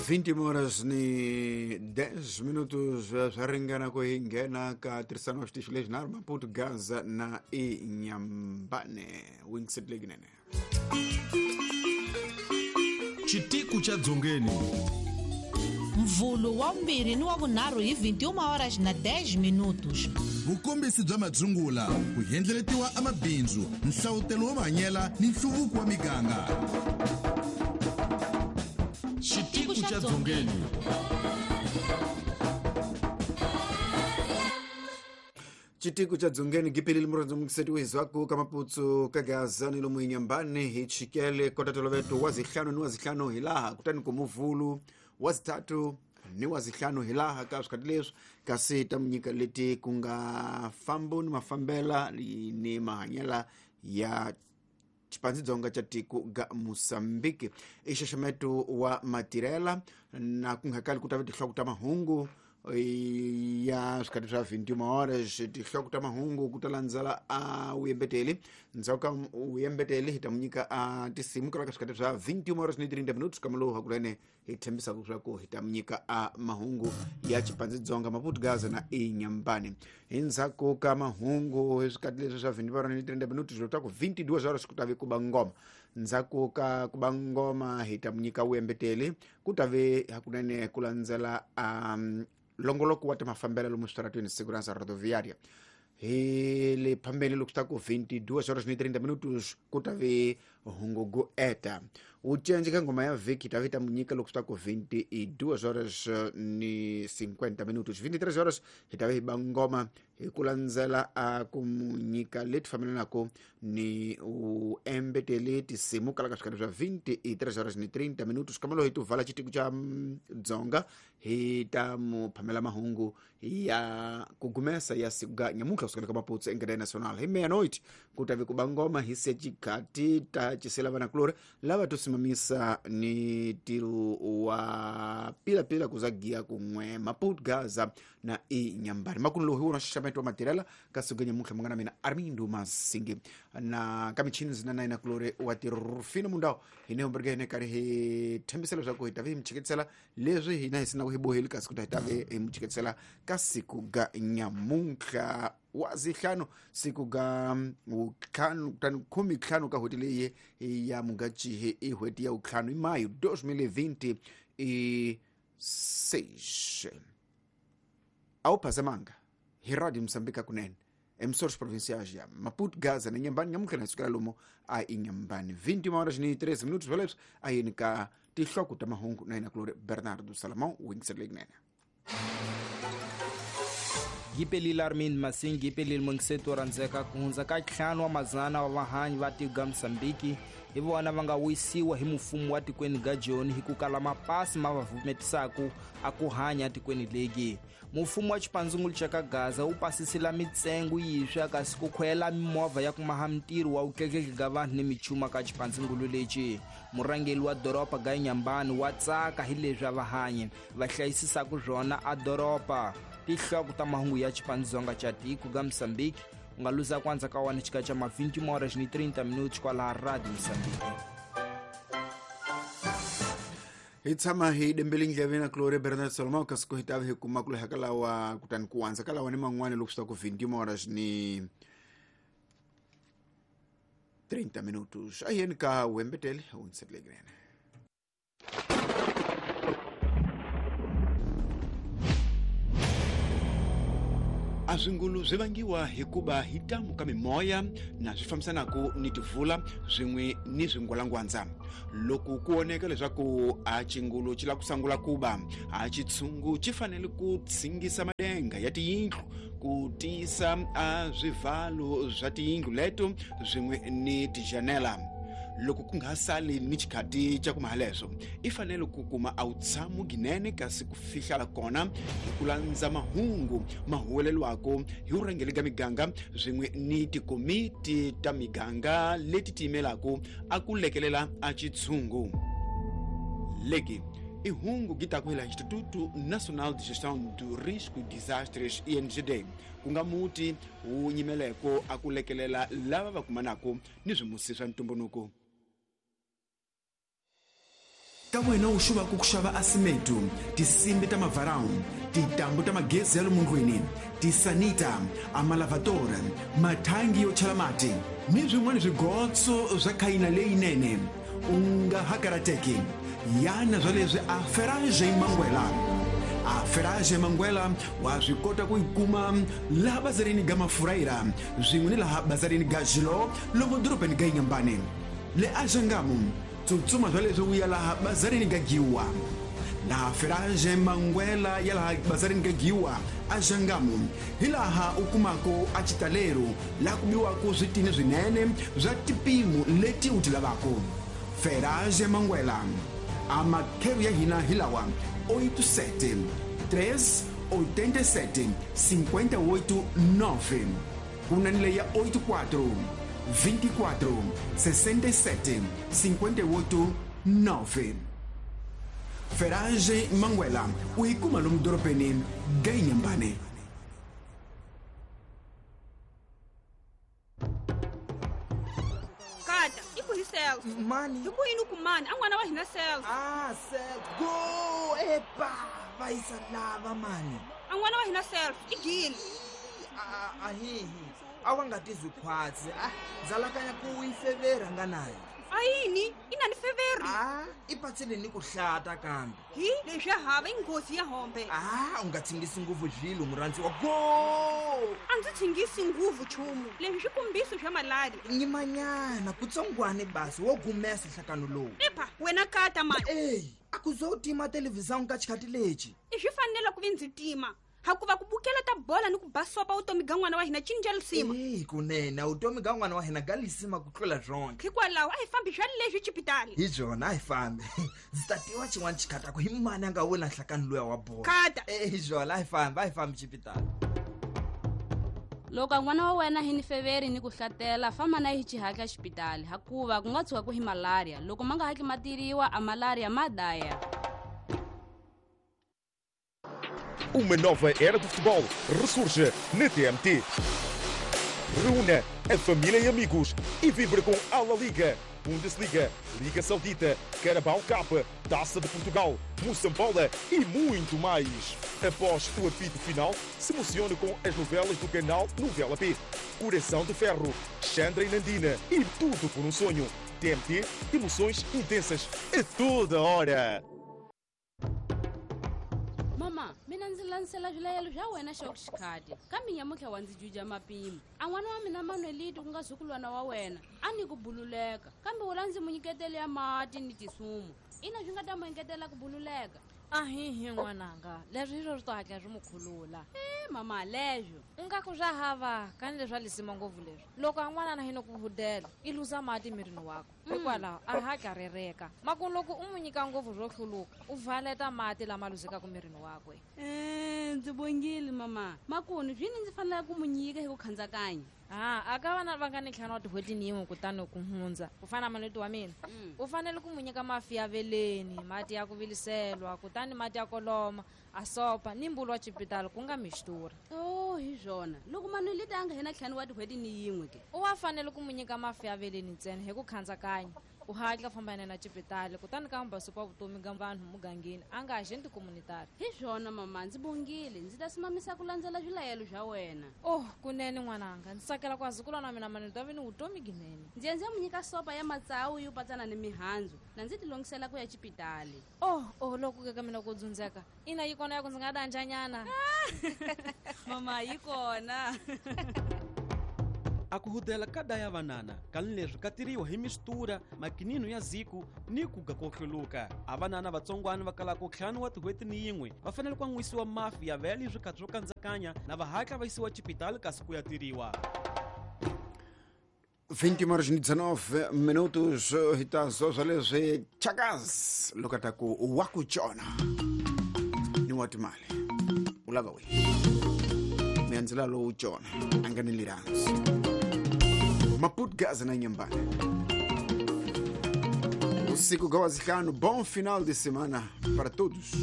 20 horas ni 10 minutos swa ringana ku hi nghena ka tirhisano wa xitichi lexi nharhu Maputo, Gaza na Inhambane. Wingset lekinene. Xitiku xa Dzongeni. Mvhulu wa vumbirhi ni wa vunharhu hi 21 horas na 10 minutos. Vukombisi bya madzungula, ku endleletiwa amabindzu, nhlavutelo wo mahanyela ni nhluvuko wa miganga. Xitiku xa Dzongeni. Xitiku xa Dzongeni gipilile murhandzu mukiseti wizwaku ka Maputsu ka Gaza ni lomu Inhambane hi chikele kota toloveto wa zihlanu ni wa zihlanu hilaha kutani ku muvhulu wa zitatu ni wa zihlanu hilaha ka swikhati leswi, kasi ta munyika leti ku nga fambo ni mafambela ni mahanyela ya xipandzidzonga xa tiko ga Mosambiki. I xaxameto wa matirhela na ku nga kali ku ta va tinhloko ta mahungu ya swikhati swa 21 horas. Tinhloko ta mahungu ku ta landzela a vuyembeteli, ndzhaku ka vuyembeteli hi ta mu nyika a tinsimu ka swikhati swa 21 horas ni 30 minutos. Kamalowu hakunene hi tshembisaka leswaku hi ta mu nyika a mahungu ya xipandzidzonga, Maputo, Gaza na Inhambane. Hi ndzhaku ka mahungu hi swikhati leswi swa 21 horas ni 30 minutos, loko ta ku 22 horas ku ta ve ku ba ngoma. Ndzhaku ka ku ba ngoma hi ta mu nyika vuyembeteli, ku ta ve hakunene ku landzela a longoloko wa timafambela lomu switaratweni, segurança rodoviária. Hi le phambeni loko swi ta ku 22 horas ni 30 minutos ku ta ve hungu go eta wu cence ka ngoma ya vhiki, ta vi ta mu nyika loko swi ta ku 22 horas ni 50 minutos. 23 horas hi ta vi hi ba ngoma hi ku landzela a ku mu nyika leti fambelanaka ni u embeteli tinsimu kala ka swikhati swa 23 horas ni 30 minutos. Kambe hi tuvala xitiku xa Dzonga hi ta mu phamela mahungu ya ku gumesa ya siku ga nyamuntlha kusukela ka Maputo engadeni nacional hi meia-noite ku ta vi ku ba ngoma hi se xikhati ta cisela vanakulori lava to simamisa ni ntirho wa pilapila ku za giya kun'we Maputo, Gaza na Inhambane. Makumu lowu hi wona xaxameto wa matirhela ka siku ga nyamuntlha. Munghana mina Armindo Masingi na ka michini zina na yena kulori wa tirufino mundawu hi ne humbereke hine karhi hi tshembisa leswaku hi ta vi hi mi chiketisela leswi hina hi sinaku hi boheli, kasi ku ta hi ta vi hi mi chiketisela ka siku ga nyamuntlha wa zihlanu, siku ga ntlhanu kutani khume ntlhanu ka n'hweti leyi ya Mugachihi, i n'hweti ya vuntlhanu, i mayo 2026. A wu phazamanga hi Radio Mosambika kunene emissores provinciais ya Maputo, Gaza na Inhambane. Nyamuntlha na hi sukela lomu a Inhambane 21 horas ni 13 minutos. Swoleswo a yini ka tinhloko ta mahungu na yena kulori Bernardo Salomão wingiselo lekunene. Gipelile Armin Masingi gipelile mungiseto rhandzeka. Ku hundza ka 5 wa mazana wa vahanyi va tiko ga Mosambiki hi vona va nga wisiwa hi mfumo wa tikweni ga Joni hi ku kala mapasi ma va vumetisaku a ku hanya tikweni legi. Mfumo wa xipandzungulu xa ka Gaza wu pasisila mitsengo yiswa kasi ku khwela mimovha ya ku maha mintirho wa vutleketli ga vanhu ni michuma ka xipandzungulu lexi. Murhangeri wa doroba ga Inhambane wa tsaka hi leswi a vahanyi va hlayisisaku swona a doroba. Tinhloko ta mahungu ya xipandzonga xa tiko ga Mosambiki u nga luza ku andza ka wani xika xa ma 20 horas ni 30 minutos kwalaha Radio Mosambiki. Hi tshama hi dembele ndleve na kulori Bernard Solomon, kasi ku hi ta hi kuma ku leha ka lawa kutani ku andza ka lawa ni man'wani loko swi ta ku 20 horas ni 30 minutos. A yeni ka wembetele wungisetelekilene. A swingulu swi vangiwa hikuva hi tamu ka mimoya na swi fambisanaka ni tivula swin'we ni swingwalangwandza. Loko ku voneka leswaku a xingulu xi lava ku sungula ku ba, a xitshungu xi fanele ku tshingisa madenga ya tiyindlu ku tiyisa a swivalo swa tiyindlu leto swin'we ni tijanela. Loko ku nga sali ni xikhati xa ku maha leswo, i fanele ku kuma a wutshamo ginene, kasi ku fihlala kona hi ku landza mahungu ma huwelelwako hi vurhangeri ka miganga swin'we ni tikomiti ta miganga leti tiyimelaka a ku lekelela a xitshungu leki. I hungu gitaku hi la Instituto Nacional de Gestão do Risco e Desastres, INGD, ku nga muti wu nyimeleko a ku lekelela lava va kumanaka ni swimusi swa ntumbuluko. Ka wena u xuvaka ku xava asimetu, tinsimbi ta mavarau, tintambu ta magezi ya lomu ndlwini, tisanita, amalavatory, mathangi yo chela mati ni swin'wana swigotso swa khayina leyinene, u nga ha karateki. Yana swa leswi a Ferage Mangwela. A Ferage Mangwela wa swi kota ku yi kuma laha bazarini ga Mafurayira swin'we ni laha bazarini ga Xilo lomu dorobeni ga Inhambane. Le a Xangamu, tsutsuma swa leswi u ya laha bazarini ga Giwa. Laha Ferage Mangwela ya laha bazarini ga Giwa a Xangamu hi laha u kumaka a xitalero laha ku biwaka switini swinene swa tipimo leti u ti lavaka. Ferage Mangwela, a makhero ya hina hi lawa: 87 3 87 58 9, ku na ni leya 84 24 67 58 9. Ferage Mangwela u yi kuma lomu dorobeni ga Inhambane. Kata, i ku hi Celso. Mani. Hi ku yini ku mani? A n'wana wa hina Celso. Ah, Celso. Go, epa, va yisa lava mani. A n'wana wa hina Celso i gile. A hihi. A wa nga tizwi khwatsi. Ah, ndzalakanya ku yi fevera nga nayo. A yini? I na ni feveri? Ah, i patsile ni ku hlata kambe. Hi, leswi ya hava i nghozi ya hombe. Ah, u nga tshingisi nguvu zvilo murhandziwa. Go! A ndzi tshingisi nguvu chumu. Leswi swikombiso swa malaria. Nyimanyana kutsongwane basi wo gumesa nhlakano lowu. Epa, wena kata mani. Ey, a ku zo tima televhizão ka xikhati lexi. I swi fanele ku vi ndzi tima. Hakuva ku bukela ta bola ni ku basopa vutomi ga n'wana wa hina cinca lisima. Eyi kunene vutomi ga n'wana wa hina ga lisima ku tlula byonke. Hikwalaho a hi fambi swa leswi xipitali. Hi byona a hi fambi. Ndzi ta tiva xin'wana xikhataku hi mani a nga wina nhlakano luya wa bola. Kata. Hi byona a hi fambi, a hi fambi xipitali. Loko n'wana wa wena hi ni feveri ni ku hlatela, famba na hi xihatla xipitali, hakuva ku nga tshuka ku hi malaria. Loko ma nga hatli ma tiriwa, a malaria ma daya. Uma nova era do futebol ressurge na TMT. Reúna a família e amigos e vibre com a La Liga, Bundesliga, Liga Saudita, Carabao Cup, Taça de Portugal, Moçambola e muito mais. Após o apito final, se emocione com as novelas do canal Novela P. Coração de Ferro, Chandra e Nandina e Tudo por um Sonho. TMT, emoções intensas a toda hora. Mama, mina ndzi landzela swilayelo swa wena xa xikhati kambe nyamutlha wa ndzi juja mapimo. A n'wana wa mina Manuelito ku nga zukulwana wa wena a ni ku bululeka, kambe wula ndzi mu nyiketele ya mati ni tisumu. Ina swi nga ta mu engetela ku bululeka. Ahihi n'wananga, leswi hi swo swi to hatla swi mu khulula. Mama, leswo u nga ku swa hava kani leswi a lisima ngopfu leswi. Loko a n'wanana hi no ku hudela i luza mati mirini wakwe, hikwalaho a hatla rereka. Maku loko u mu nyika ngopfu swo hluluka u valeta mati lama luzekaka mirini wakwe. Ndzi bongile mama. Makunu swini ndzi fanele ku mu nyika hi ku khandzakanya. Ah, a ka vana va nga ni ntlhanu wa tin'hweti ni yin'we kutani ku hundza ku fana na Manuelito wa mina, u fanele ku mu nyika mafi ya veleni, mati ya ku viliselwa, kutani mati ya koloma, a sopa ni mbulu wa xipitali ku nga mixtura. Oh, hi swona. Loko Manuelito a nga hina ntlhanu wa tin'hweti ni yin'we ke, u wa fanele ku mu nyika mafi ya veleni ntsena hi ku khandzakanya. U hatla famba na xipitali kutani ka mbasopa vutomi ga vanhu mugangeni a nga agenti communitary. Hi swona mama, ndzi bongile. Ndzi ta simamisa ku landzela swilayelo swa wena. Oh, kunene n'wananga, ndzi tsakela ku azukulwana wa mina Manuelito a vi ni vutomi ginene. Ndzi ya ndzi ya mu nyika sopa ya matsawu yo patsana ni mihandzu, na ndzi tilongisela ku ya xipitali. Oh, oh, loko ke ka mina ku dzundzeka. Ina yi kona ya ku ndzi nga danjanyana. Mama, yi kona. A ku hudela ka daya vanana kani leswi ka tiriwa hi mistura, makinino ya ziku ni ku ga ko hluluka. A vanana vatsongwana va kalaka ntlhanu wa tin'hweti ni yin'we va fanele ku an'wisiwa mafi ya vele swikhathi swo kandzakanya na va hatla va yisiwa xipitali kasi ku ya tiriwa. 20:19 minutos hi ta swa leswi Chakas loko ta ku wa ku tshona ni wa timali u lava we miandzela lowu tshona a nga ni lirhansi Maputo Gaza na Inhambane. Usiku ga wazihlanu, bom final de semana para todos.